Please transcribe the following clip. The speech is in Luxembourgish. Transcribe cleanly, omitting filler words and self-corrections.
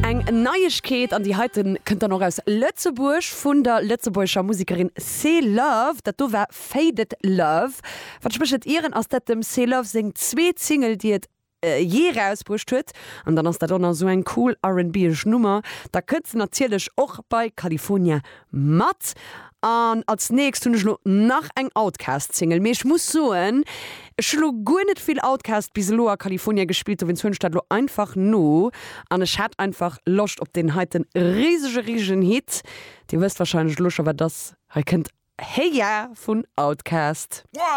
Eng Neiegkeet, an déi heiten kënnt dann och aus Lëtzebuerg, vun der lëtzebuergescher Musekerin C-Love. Dat do war Faded Love. Wann ech mech net ieren, ass dat dem C-Love seng zweet Single, déi et jee erausbruecht huet. An dann ass dat och nach esou eng cool R&B-esch Nummer. Da kënnt se natierlech och bei California mat. An als nächst hunn ech elo nach eng Outkast-Single. Mee ech muss soen, ech hu lo guer net vill Outkast bis elo a California gespillt, dowéinst huelen ech dat elo einfach no. An ech hat einfach Loscht op deen heiten risege, risegen Hit. Dir wësst wahrscheinlech elo scho wat et ass. Hei kënnt Hey Ya vun Outkast.